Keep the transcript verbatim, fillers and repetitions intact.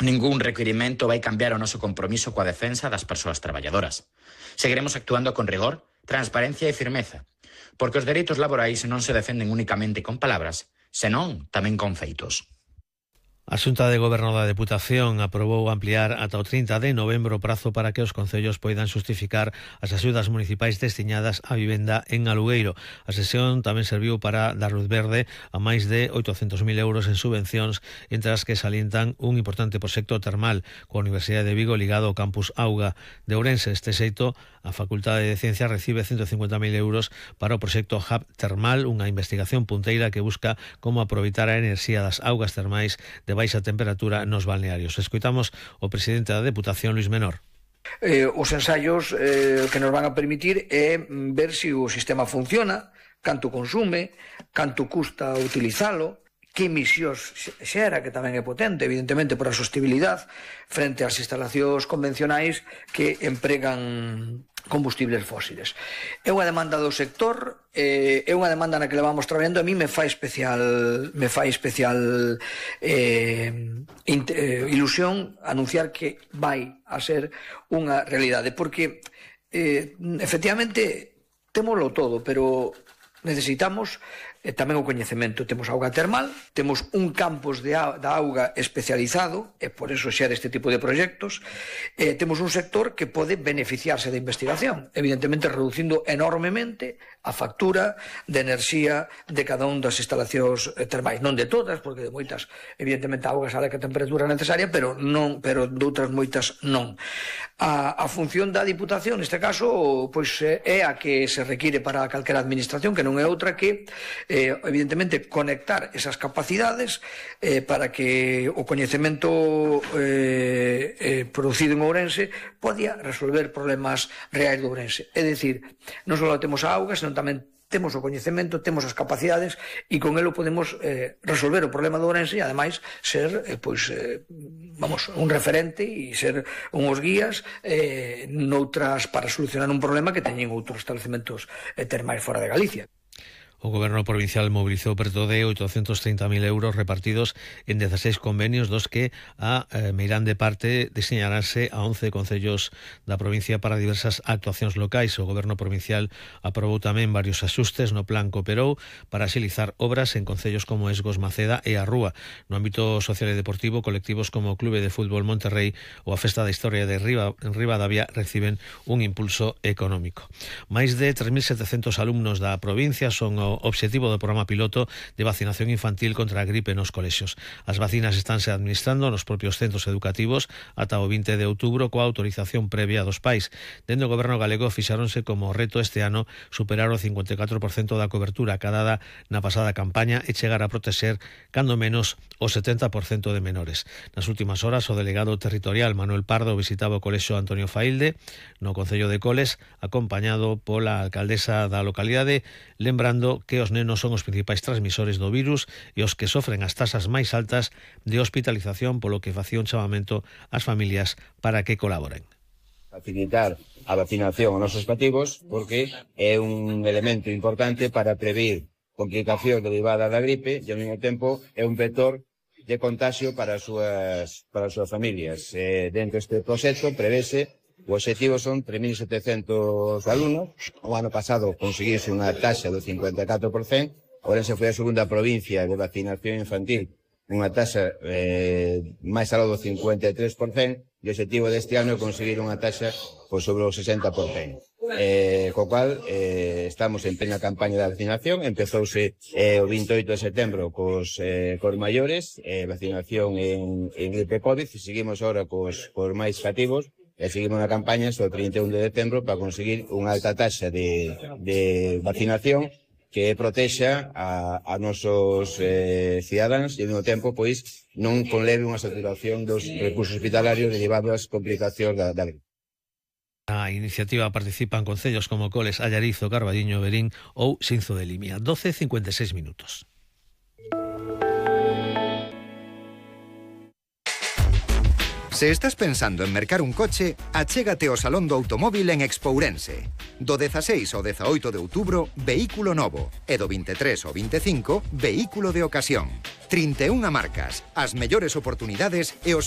Ningún requirimento vai cambiar o noso compromiso coa defensa das persoas traballadoras. Seguiremos actuando con rigor, transparencia e firmeza, porque os dereitos laborais non se defenden únicamente con palabras, senón tamén con feitos. A Xunta de Goberno da Deputación aprobou ampliar ata o trinta de novembro o prazo para que os concellos poidan xustificar as axudas municipais destinadas á vivenda en alugueiro. A sesión tamén serviu para dar luz verde a máis de oitocentos mil euros en subvencións, entre as que salientan un importante proxecto termal coa Universidade de Vigo ligado ao campus Auga de Ourense. Este xeito, a Facultade de Ciencias recibe ciento cincuenta mil euros para o proxecto Hub Termal, unha investigación punteira que busca como aproveitar a enerxía das augas termais de baixa temperatura nos balnearios. Escoitamos o presidente da Deputación, Luís Menor. Eh, os ensaios eh, que nos van a permitir é ver se o sistema funciona, canto consume, canto custa utilizalo, que emisións xera, que tamén é potente, evidentemente, por a sostibilidade frente ás instalacións convencionais que empregan combustibles fósiles. É unha demanda do sector, eh, é unha demanda na que levamos traballando. A mí me fai especial me fai especial eh, eh, ilusión anunciar que vai a ser unha realidade, porque eh, efectivamente témolo todo, pero necesitamos eh, tamén o coñecemento. Temos auga termal, temos un campus de a, da auga especializado, e por eso xera este tipo de proxectos. Eh, temos un sector que pode beneficiarse da investigación, evidentemente reducindo enormemente a factura de enerxía de cada un das instalacións termais. Non de todas, porque de moitas, evidentemente, a auga sale a temperatura necesaria, pero non, pero de outras moitas non. A, a función da Diputación, neste caso, pois é a que se require para calquera administración, que non é outra que Eh, evidentemente conectar esas capacidades eh, para que o coñecemento eh, eh, producido en Ourense podía resolver problemas reais de Ourense. É dicir, non só temos a auga, senón tamén temos o coñecemento, temos as capacidades, e con elo podemos eh, resolver o problema de Ourense e ademais ser eh, pois, eh, vamos, un referente e ser unhos guías eh, noutras para solucionar un problema que teñen outros establecementos eh, termais fora de Galicia. O Goberno provincial mobilizou perto de oitocentos trinta mil euros repartidos en dezaseis convenios, dos que a eh, meirande parte designarase a once concellos da provincia para diversas actuacións locais. O Goberno provincial aprobou tamén varios axustes no plan que operou para axilizar obras en concellos como Esgos, Maceda e a Rúa. No ámbito social e deportivo, colectivos como o Clube de Fútbol Monterrey ou a Festa da Historia de Riba, en Ribadavia reciben un impulso económico. Máis de tres mil setecentos alumnos da provincia son o obxectivo do programa piloto de vacinación infantil contra a gripe nos colexios. As vacinas estánse administrando nos propios centros educativos ata o vinte de outubro coa autorización previa dos pais. Dende o Goberno galego fixáronse como reto este ano superar o cincuenta e catro por cento da cobertura acadada na pasada campaña e chegar a protexer cando menos o setenta por cento de menores. Nas últimas horas, o delegado territorial Manuel Pardo visitaba o colexio Antonio Failde no concello de Coles, acompañado pola alcaldesa da localidade, lembrando que os nenos son os principais transmisores do virus e os que sofren as tasas máis altas de hospitalización, polo que facía un chamamento ás familias para que colaboren. Facilitar a vacinación aos nosos cativos porque é un elemento importante para prevenir complicacións derivadas da gripe e ao mesmo tempo é un vector de contagio para as súas, para as súas familias. Eh, dentro deste proxecto prevese o obxectivo son tres mil setecentos alumnos. O ano pasado conseguirse unha taxa do cincuenta e catro por cento. Ourense foi a segunda provincia de vacinación infantil, unha taxa eh, máis aló do cincuenta e tres por cento, e o obxectivo deste ano é conseguir unha taxa pois, sobre o sesenta por cento. Eh, co cual eh, estamos en plena campaña de vacinación. Empezouse eh, o vinte e oito de setembro cos, eh, cos maiores, eh, vacinación en, en gripe COVID, e seguimos agora cos, cos máis cativos. E seguimos na campaña hasta o trinta e un de decembro para conseguir unha alta taxa de, de vacinación que protexa a, a nosos eh, cidadáns e ao mesmo tempo pois non conleve unha saturación dos recursos hospitalarios derivados das complicacións da, da gripe. A iniciativa participan concellos como Coles, Allarizo, Carballiño, Verín ou Xinzo de Limia. doce e cincuenta e seis minutos. Se estás pensando en mercar un coche, achégate ao Salón do Automóvil en Expo Ourense. Do dezaseis ao dezaoito de outubro, vehículo novo. E do vinte e tres ao vinte e cinco, vehículo de ocasión. trinta e unha marcas, as mellores oportunidades e os